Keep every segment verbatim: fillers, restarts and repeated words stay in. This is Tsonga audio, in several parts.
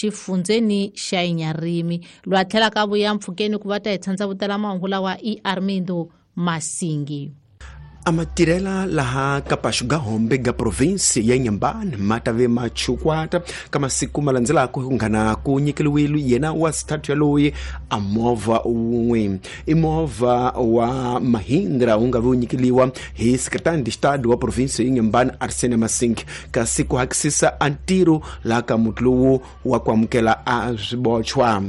xifundzeni xa Inharime. Lwa tlhela ka vuya mpfhukeni ku va ta hi tshandza vutela mahungu lawa i Armindo Masingi. Amatirela laha ka Paxu ga Hombe ga provinsi ya Inhambane ma ta ve machukwata ka masiku ma landzelaka ku nghana ku nyikeliwile yena wa xithathu yaloyi a movha wun'we. I movha wa Mahindra wu nga vi wu nyikeliwa hi secretary de Estado wa provinsi ya Inhambane Arsene Masing, kasi ku hakisisa a ntirho laha ka muti lowu wa ku amukela a swibochwa.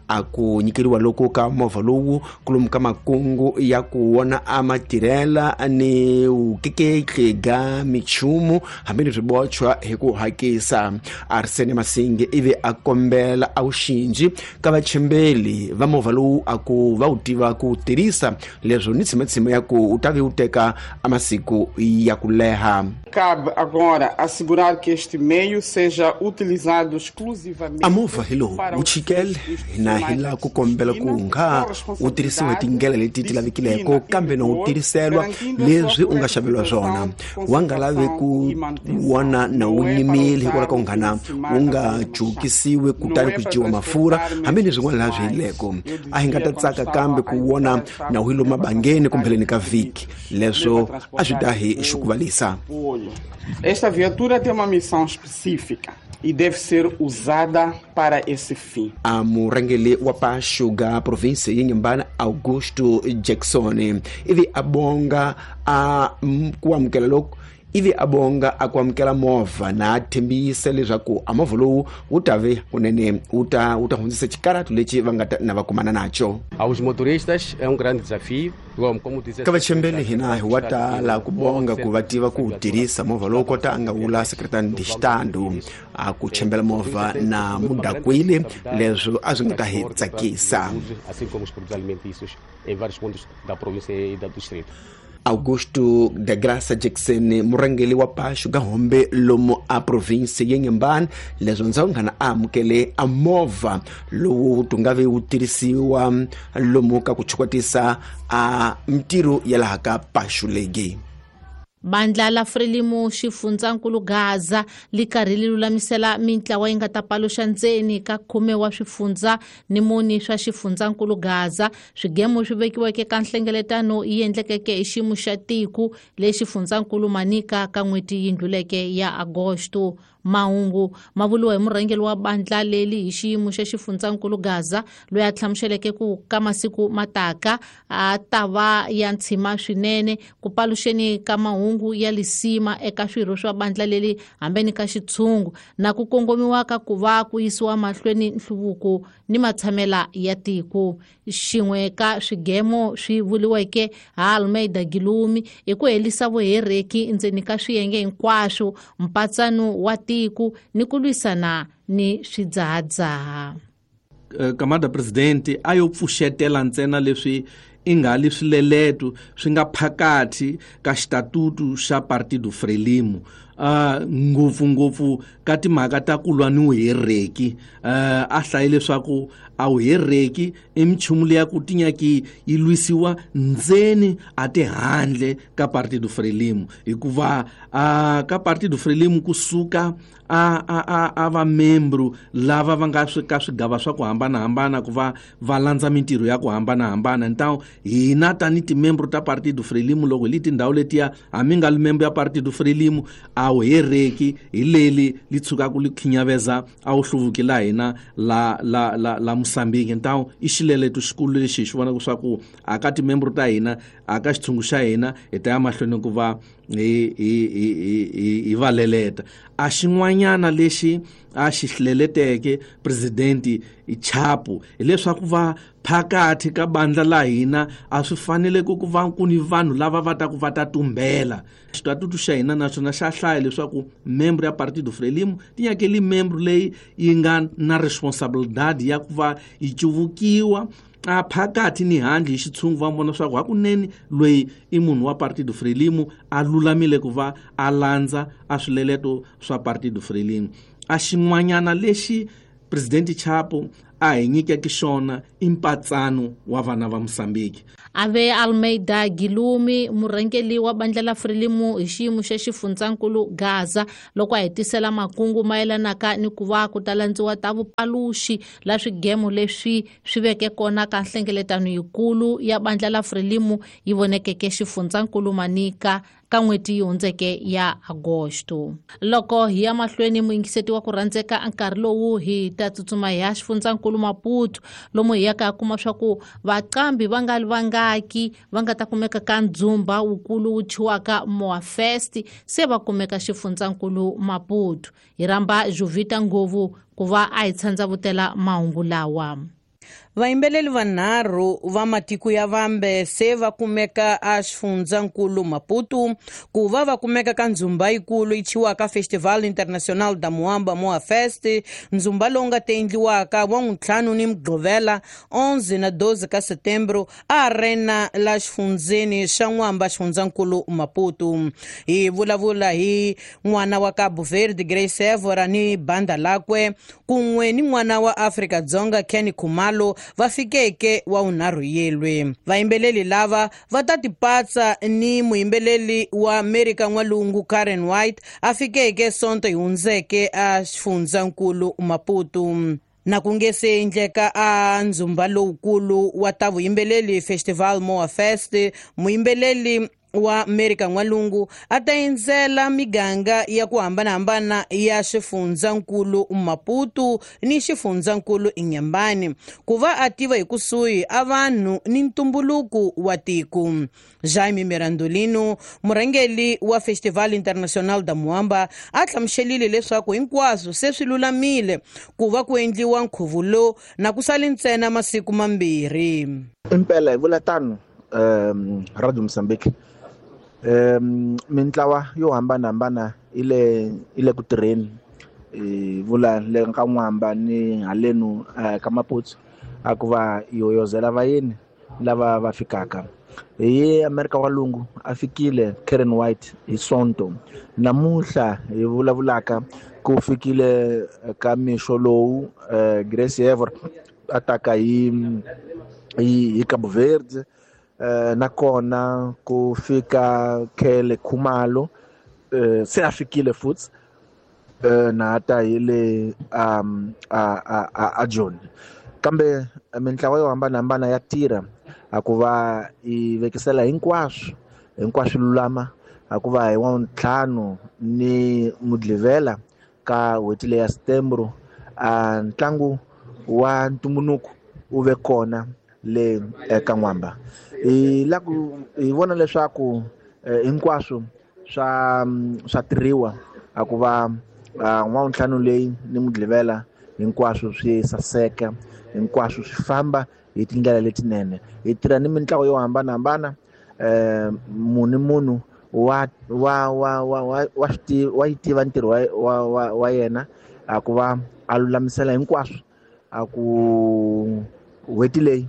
A ku nyikeliwa loko ka movha lowu kulomu ka makungu ya ku wona a matirela ni vukeketli ga michumu hambi ni swibochwa hi ku hakisa. Arsene Masingi ivi a kombela a wuxinji ka vachembeli va movha lowu a ku va wu tiva ku tirhisa leswo ni tshimatshima ya ku u ta vi wu teka a masiku ya ku leha. Cabe agora assegurar que este meio seja utilizado exclusivamente a movha hi lowu wu chikele hina hi la ku kombela ku nga wu tirhisiwa hi tindlela leti ti lavekileko kambe no wu tirhiselwa leswi u nga xaveriwa swona, wa nga lavi ku wona na wu nyimile hikwalaho ka nghana wu nga jukisiwi kutani ku dyiwa mafurha hambi ni swin'wana laha swi yileko. A hi nga ta tsaka kambe ku wona na wu yilo mabangeni kumbheleni ka vhiki, leswo a swi ta hi xukuvalisa. Esta viatura tem uma missão específica e deve ser usada para esse fim. A murhangeri wa Paxu ga provinsi ya Inhambane Augusto Jackson ivi a bonga a ku amukela loko ivi a bonga a ku amukela movha na tshembisa leswaku a movha lowu wu ta ve kunene wu ta wu ta hundzisa xikaratu lexi va nga ta na va kumana nacho. Aos motoristas é um grande desafio. Ka vachembeli hina hi wa tala ku bonga ku va tiva ku tirhisa movha lowu kota a nga vula secretary de Estado a ku chembela movha na mudakwile leswo a swi nga ta hi tsakisa. Assim como os produtos alimentícios em vários pontos da província e do distrito. Augusto da Graça Jackson murhangeri wa Paxu ga Hombe lomu a provinsi ya Inhambane leswo ndzhawu nghana a amukele a movha lowu tu nga vi wu tirhisiwa lomu ka ku chukwatisa a mintirho ya laha ka Paxu legi. Bandla la Frelimo xifundzankulu Gaza li karhi li lulamisela mintlawa yi nga ta paluxa ndzeni ka khume wa swifundza ni muni swa xifundzankulu Gaza. Swigemo swi vekiweke ka nhlengeletano yi endlekeke hi xiyimo xa tiko lexi xifundzankulu Manica ka n'hweti yi ndluleke ya Agosto. Mahungu ma vuriwa hi murhangeri wa bandla leli hi xiyimo xa xifundzankulu Gaza loyi a hlamuseleke ku ka masiku mataka a ta va ya ntshima swinene ku paluxeni ka mahungu ya lisima eka swirho swa bandla leli hambeni ka xitshungu na ku kongomiwa ka ku va ku yisiwa mahlweni nhluvuko ni matshamela ya tiko. Xin'we ka swigemo swi vuriweke ha Almeida Gilumi i ku helisa vuhereki ndzeni ka swiyenge hinkwaswo mpatsano wa tiko ni ku lwisana ni swidzahadzaha. Kamada presidente a yo pfuxetela ntsena leswi i nga li swileleto swi nga phakathi ka xitatutu xa Partido Frelimo, uh, ngopfungopfu ka timhaka ta ku lwa ni vuhereki. uh, a hlaye leswaku a vuhereki i minchumu leya ku tinyaki yi lwisiwa ndzeni a ti handle ka Partido Frelimo, hikuva uh, ka Partido Frelimo kusuka a a a a va membro lava va nga ka swigava swa ku hambanahambana ku va va landza mintirho ya ku hambanahambana. Ntawo hina tani timembro ta Partido Frelimo loko hi li tindhawu letiya hambi nga li membro ya Partido Frelimo a wu hereki hi leli li tshukaka li khinyaveza a wu hluvuki la hina la la la la Mozambique. Ntawo i xileleto xikulu lexi hi xi vonaka swa ku a ka timembro ta hina a ka xitshungu xa hina hi ta ya mahlweni ku va hi hi hi hi va leleta. A xin'wanyana lexi a xi hleleteke presidenti Chapo hileswaku va phakathi ka bandla la hina a swi fanele ku ku va ku ni vanhu lava va ta ku va ta tumbela. Xitatutu xa hina naswona xa hlaya leswaku membro ya Partido Frelimo ti nyakeli membro leyi yi nga na responsabilidade ya ku va yi cuvukiwa a phakathi ni handle hi xitshungu va vona leswaku hakunene loyi i munhu wa Partido Frelimo a lulamile ku va a landza a swileleto swa Partido Frelimo. A xin'wanyana lexi presidente Chapo a hi nyikeke xona i mpatsano wa vana va Mosambiki. Ave Almeida Gilumi, murhangeri wa bandla la Frelimo hi xiyimo xa xifundzankulu Gaza, loko a hetisela makungu mayelanaka ni ku va ku ta landziwa ta vupaluxi la swigemo leswi swi veke kona ka nhlengeletano yikulu ya bandla la Frelimo yi vonekeke xifundzankulu Manica ka n'hweti yi hundzeke ya Agosto. Loko hi ya mahlweni muyingiseti wa ku rhandzeka nkarhi lowu hi ta tsutsuma hi ya xifundzankulu Maputo, lomu hi yaka kuma swa ku vaqambi va nga vangaki va nga ta kumeka ka ndzumba wukulu wu thyiwaka Moa Fest se va kumeka xifundzankulu Maputo. Hi rhamba Jovita Ngovu ku va a hi tshandzavutela mahungu lawa. Vayimbeleli vanharhu va matiko ya vambe se va kumeka a xifundzankulu Maputo ku va va kumeka ka ndzumba yikulu yi thyiwaka Festival Internacional da Moamba Moa Fest, ndzumba lowu nga ta endliwaka wa ntlhanu ni Mugqivela onze na doze ka Setembro a arena la xifundzeni xa N'wamba xifundzankulu Maputo. Hi vulavula hi n'wana wa Cabo Verde Grace Evora ni banda lakwe kun'we ni n'wana wa Afrika-Dzonga Kenny Khumalo va fikeke wa unharhu yelwe. Vayimbeleli lava va ta tipatsa ni muyimbeleli wa Amerika N'walungu Karen White a fikeke Sonto yi hundzeke a xifundzankulu Maputo. Na ku nge se endleka a ndzumba lowukulu wa ta vuyimbeleli Festival Moa Fest, muyimbeleli wa Amerika N'walungu a ta endzela miganga ya ku hambanahambana ya xifundzankulu Maputo ni xifundzankulu Inhambane ku va a tiva hi kusuhi a vanhu ni ntumbuluko wa tiko. Jaime Mirandolino, murhangeri wa Festival Internacional da Moamba, a hlamuselile leswaku hinkwaswo se swi lulamile ku va ku endliwa nkhuvo lowu na ku sale ntsena masiku mambirhi. Impela hi vula tano um Radio Mozambique um mintlawa yo hambanahambana ile ile ku tirheni hi vula le ka N'wamba ni halenu ka Maputo a ku va yoyozela vayeni lava va fikaka. Hi Amerika N'walungu a fikile Karen White hi Sonto, namuntlha hi vulavulaka ku fikile ka mixo lowu Grace Evora a taka hi hi Cabo Verde, Uh, nakona ku fika Kele Khumalo uh, se a fikile futhi uh, na ta hi le um, a, a, a, a John. Kambe mintlawa yo hambanahambana ya tirha a ku va yi vekisela hinkwaswo hinkwaswo lulama a ku va hi wa ntlhanu ni Mugqivela ka n'hweti leya Setembro a ntlangu wa ntumbuluko wu ve kona le ka N'wamba. Hi la ku hi vona leswaku hinkwaswo swa swa tirhiwa a ku va n'wantlhanu leyi ni Mugqivela hinkwaswo swi saseka, hinkwaswo swi famba hi tindlela letinene. Hi tirha ni mintlawa yo hambanahambana, um munhu munhu wa wa wa wa wa wa yi tiva ntirho wa wa wa yena a ku va a lulamisela hinkwaswo a ku n'hweti leyi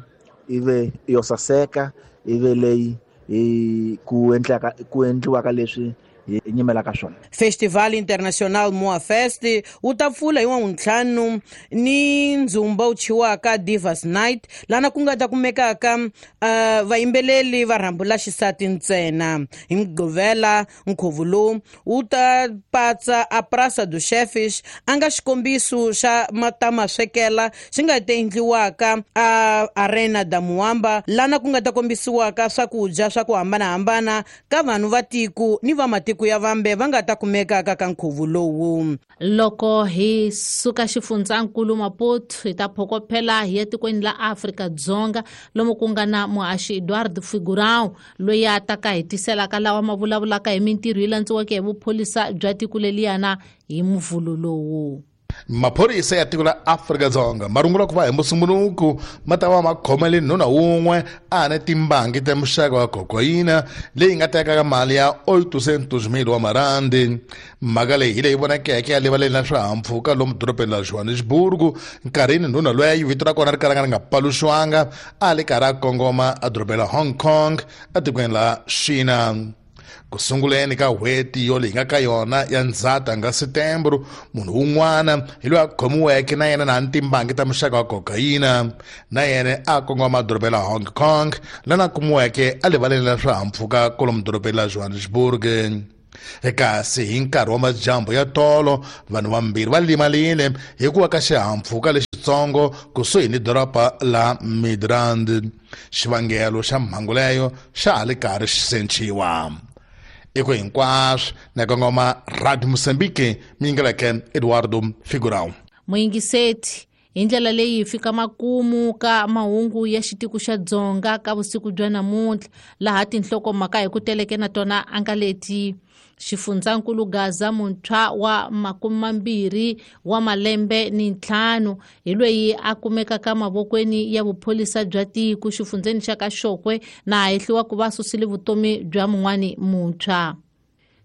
ive yo saseka, ive leyi hi ku endlaka ku endliwaka leswi hi nyimelaka swona. Festival Internacional Moa Fest wu ta pfula hi wantlhanu ni ndzumba wu thyiwaka Divas Night, lana ku nga ta kumekaka uh, vayimbeleli va rhambu la xisati ntsena. Hi Mugqivela nkhuvo lowu wu ta patsa a Praça dos Chefes, a nga xikombiso xa matamaswekela xi nga ta endliwaka a Arena da Moamba, lana ku nga ta kombisiwaka swakudya swa ku hambanahambana ka vanhu va tiko ni va matiko ya vambe va nga ta kumekaka ka nkhuvo lowu. Loko hi suka xifundzankulu Maputo hi ta phokophela hi ya tikweni la Afrika-Dzonga lomu ku nga na muhaxi Eduardo Figurão loyi a taka hi tiselaka lawa ma vulavulaka hi mintirho yi landziweke hi vupholisa bya tiko leliyana hi muvhulo lowu. Maphorisa ya tiko la Afrika-Dzonga ma rungula ku va hi Musumbhunuku ma ta va ma khomele nuna wun'we a na timbangi ta muxaka wa kokayina leyi nga tekaka mali ya oitocentos mil wa marandi. Mhaka leyi hi leyi vonakeke ya rivaleni la swihahampfhuka lomu dorobeni la Johannesburg nkarhini nuna loyi vito ra kona ri kalanga ri nga paluxiwanga a li karhi a kongoma edorobeni la Hong Kong etikweni la China. Ku sunguleni ka n'hweti yo leyi nga ka yona ya Ndzhati nga Setembro, munhu wun'wana hi loyi a khomiweke na yena na timbangi ta muxaka wa kokayina, na yena a kongoma dorobeni la Hong Kong, lana kumiweke a rivaleni ra swihahampfhuka kwalomu dorobeni la Johannesburg. Kasi hi nkarhi wa madyambu ya tolo, vanhu vambirhi va limalile hi ku wa ka xihahampfhuka lexitsongo kusuhi ni doroba la Midrand. Xivangelo xa mhangu leyo xa ha li karhi xi sechiwa. Eko hinkwaswo na kongoma Radio Mozambique, mingeleke Eduardo Figurão. Muyingiseti, hi ndlela leyi hi fika makumu ka mahungu ya xitiko xa Dzonga ka vusiku bya namuntlha, laha tinhlokomhaka hi ku teleke na tona a nga leti: xifundzankulu Gaza muntshwa wa makume mambirhi wa malembe ni ntlhanu hi loyi a kumekaka mavokweni ya vupholisa bya tiko xifundzeni xa ka Xokwe na hehliwa ku va susile vutomi bya mun'wani muntshwa.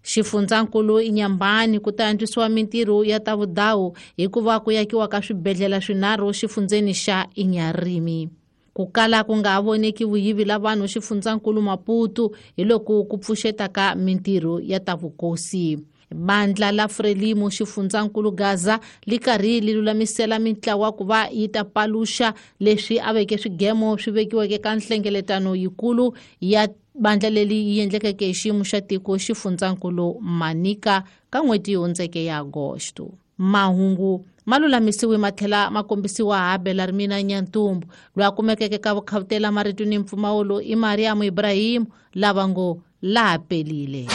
Xifundzankulu Inhambane ku ta antswisiwa mintirho ya ta vudawu hikuva ku yakiwa ka swibedhlele swinharhu xifundzeni xa Inharime. Ku kala ku nga ha voneki vuyivi la vanhu xifundzankulu Maputo hi loko ku pfuxeta ka mintirho ya ta vukosi. Bandla la Frelimo xifundzankulu Gaza li karhi li lulamisela mintlawa ku va yi ta paluxa leswi a veke swigemo swi vekiweke ka nhlengeletano yikulu ya bandla leri yi endlekeke hi xiyimo xa tiko xifundzankulu Manica ka n'hweti yi hundzeke ya Agosto. Mahungu ma lulamisiwe ma tlhela ma kombisiwa ha Belarmina Nyantumbu, loyi a kumekeke ka vukhawutela marito ni mpfumawulo i Mariam Ibrahim, lava ngo laha pelile.